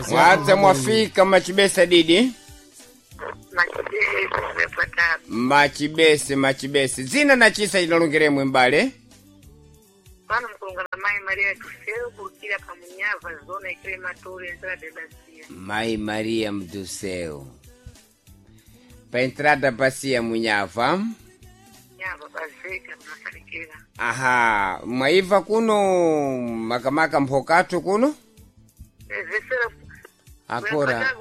Mwadza mwafika machibesa didi. Machibese mwefatatu. Machibese machibese. Zina na chisa inalongeremwe mbale. Pano mkulungana mai Maria Tuseu kurukira pamunyava zona ikile matore nzira debasia. Mai Maria Mduseu. Pa entrada basia Munhava. Nyava bazeka tunasalikira. Aha, mwaiva kuno makamaka mphokatu kuno? Ezesera Akora.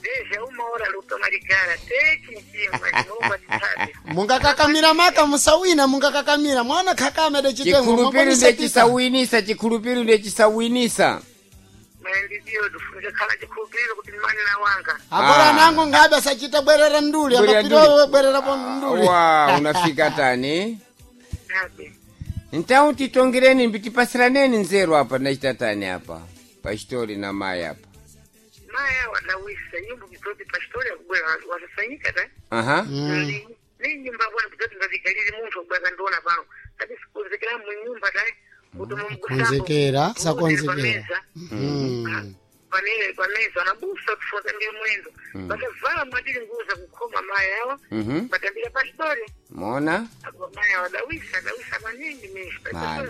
Deja uma hora lutomalikala techi nchimba chinomba chitabe. Mungakakamira maka musawina mungakakamira mwana khakame de chitengo Chikhulupiro ndechisawinisa, chikhulupiro ndechisawinisa. Maendeleo tufunike khala chikhulupiriro kuti mani na wanga. Akora Ah. nango ngabe sachita bwerera nduli Bwerera akapita nduli. bwerera po nduli. Wa, unafika tani? Nabe. Então titongereni mbitipasiraneni nzeru apa nachita tani apa. Pastori na mai apa. Maya wadawisa nyumba kitoti pastori akubwera wasasanyika ta. Aha. Ni nyumba bwana kitoti ngazikalili munthu akubwera kandiona pano. Kati sikonzekera mu nyumba ta. Kuti Konzekera, sakonzekera. Mm. Panele pameza anabusa kufuata mbiri mwendo. Bakavala mwatili nguza kukhoma maya awa. Mhm. Batambira pastori. Mona? Apo maya wadawisa dawisa maningi mishi. Mali.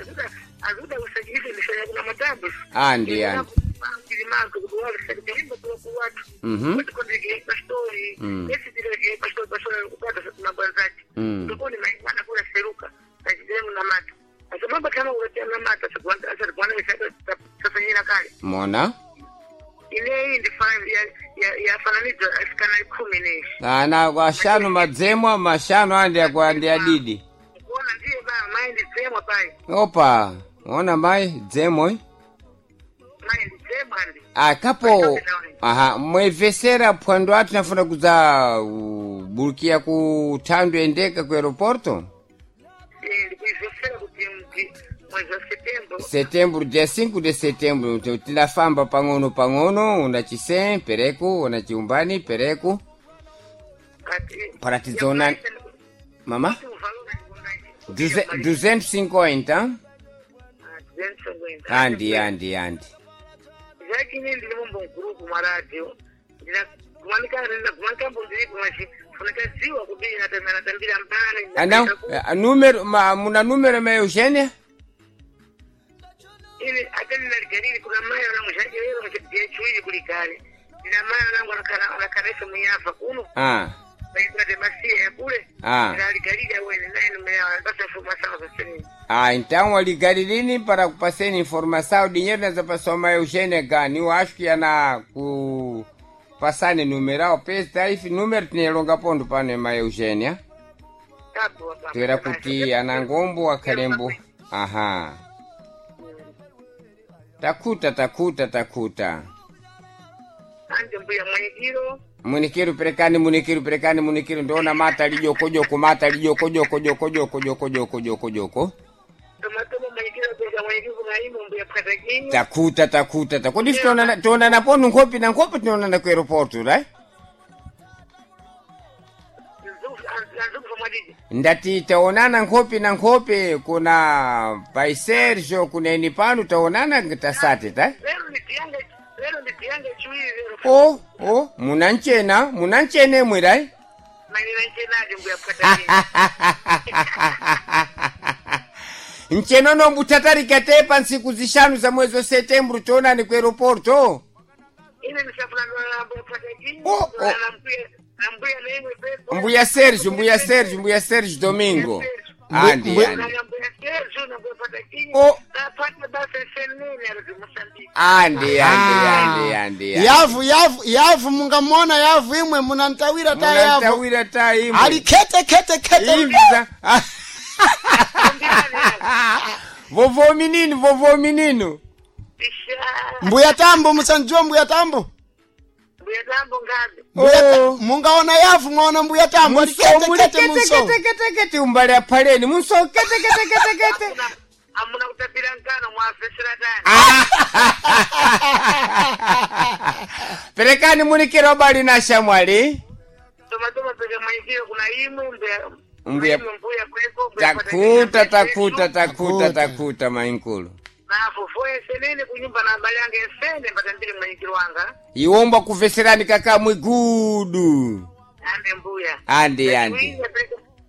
Azudawisa chiife mishaya kuna matambo. Andi andi. Mhm. Mm. Mm. Mona? Ana ashanu madzemwa mashanu andi akwa andi adidi. Opa, ona mai dzemwe. Akapo aha mwevesera phwando atu nafuna kudza burukia ku thando endeka ku aeroporto setembro dia 5 de setembro tilafamba pang'ono pang'ono una chisen pereku una chiumbani pereku para tidzona mama 250 andi andi andi zvakine ndiri mumbo maradio ndinagumanika ndiri kumachi funikaziwa kudini natambira mbani ana número ma, muna número ma Eugênia ini ataninagariri kuna mai vanangu zvacherero muchichuiri kuligare ndina mai vanangu anakanesa munyafa kuno ah vaitira masiya yakule Ah. ndinaligarira wene naine Ah, então aligarilini para kupaseni informação, dinheiro nessa pessoa mais Eugênia gani, eu acho que ana ku passane numeral, pesa tarife número tinha longa ponto para nema Eugênia. Tuera kuti ana ngombo akalembo. Aha. Takuta takuta takuta. anje mbuya mwenyekiro Munikiru perekani munikiru perekani munikiru ndona mata lijoko joko mata lijoko joko joko joko joko joko joko joko. tomatoma mwenyekiro pesa mwenyekiro kunaimo mbuya pwatakinyi Takuta takuta takudi tonana tonana ponu nkhopi na nkhopi tinonana ku aeroporto right? anzikufa mwadidi Ndati taonana nkhopi na nkhopi kuna pai Sergio kuna eni pano taonana tasate ta lero nditiyanga lero nditiyanga chiwiri lero o o munanchena munanchene imwe right? manena nchenaje mbuya pwatakinyi nchenono mbutatarika te pa ntsiku zishanu za mwezi wa setembro tionani ku aeroporto ine ndisafuna mbuya pwatakinyi Oh, oh. nambuya naimwe pepo mbuya Sergio mbuya Sergio mbuya Sergio Domingo andi andi nambuya Sergio nambuya pwatakinyi Oh. napata basa senene ari Mozambique andi andi andi andi andi. Yavu yavu yavu mungamona yavu imwe munantawira ta yavu. Munantawira ta imwe Ali kete kete kete. Imza. Vovô menino, vovô menino. isha Mbuya tambo musanjua mbuya tambo. mbuya tambo ngazi Mbuya Oh. mungaona yavu mwaona mbuya tambo ali kete Muli kete kete munso. kete kete kete umbali aphaleni munso kete kete kete kete. amuna kutapira nkano mwafesera tani Perekani munikira obali na shamwali. tomatoma peka mwenyekiro kuna imwe mbuya Mbuya- imwe mbuya kweko mbuya Takuta Pwatakinyi, takuta takuta Takuta. takuta mainkulu. Na vovô ensenene kunyumba na abale anga ensene mbatambire mwanyikilo wanga. Iwomba kuveserani kaka mwigudu. Ande mbuya. Ande ande.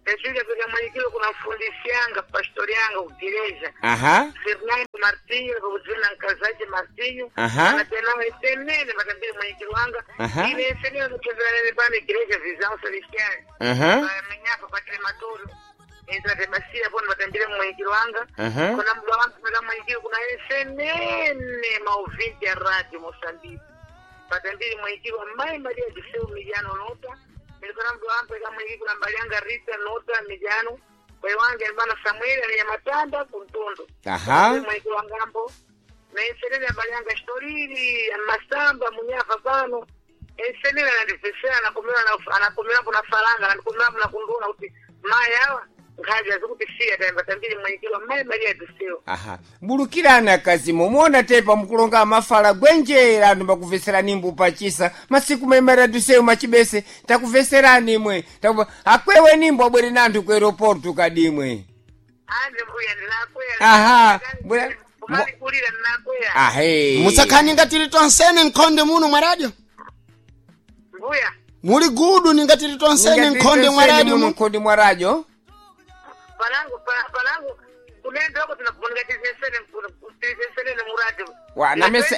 Pechuja peka mwanyikilo kuna mfundisi yanga, pastori yanga kugereja. Aha. Fernando Martinho, pakudzina mkazache Martinho. Aha. Anatenawo ensenene mbatambire mwanyikilo wanga. Aha. Ine ensenene kutembera pano igreja Visão Celestial. Aha. Menyapa pakrematorio. Entratemasiya pano batambire mwanyikilo wanga. Aha. Kuna mdwa wangu peka mwanyikilo kuna ensenene mauvinte ya radio Moçambique. Batambire mwanyikilo mai Maria do Céu Miliano Nota. Nilikona mdwa wangu peka mwanyikilo kuna mbalianga Rita Nota Miliano. Pai wange albana Samuel aliyamatanda kuntondo. Aha. Mwanyikilo wangambo. Na ensenene abalianga Storili, Masamba, Munyafa pano. Ensenene anandivesera anakomera kuna falanga, anakomera kuna kunduna kuti mai awa nkhazi azikutisiya tayamba tambiri mwanyikilo mai Maria do Céu. Aha. Bulukirani akazimo muona tepa mukulonga mafala gwenjera anthu mbakuveserani imbu pachisa masiku maimara dusewu machibese takuveserani imwe takupa akwewe nimbo abwere nanthu ku aeroporto kadimwe. Ande mbuya ndinakweya. Aha, mbuya- Kumalikulira ndinakweya. Ahe. Musakhani ngatili tonsene nkhonde muno mwa radio. Mbuya. Muli gudu ningatili tonsene nkhonde mwa radio muno muno. nkhonde mwa radio. Palangu palangu kunenda huko tunakuoneka tisesene tisesene muradi. Wa, na mese-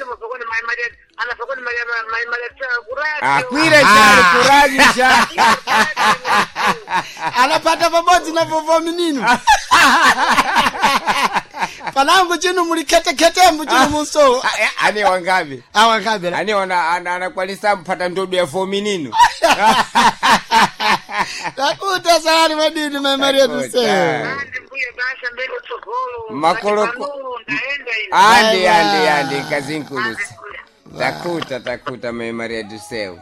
Mai Maria anafokoni Maria Mai Maria kuradi. Akwire chali kuradio cha. Anapata pabodzi na vovo minino. Panangu chinu muli khetekhetembo chinu munso. Ane wangapi? Awa nkabela. Ane wana anakwanisa mpata ndodo ya fominino. Takuta salani madini mai Maria do Takuta. Céu. Ande mbuya basha mbele utsogolo. Makoloko- Ndaenda ine. Ande Bye, ande bye. ande kazinkulusi. Ande mbuya. Takuta takuta mai Maria do Céu.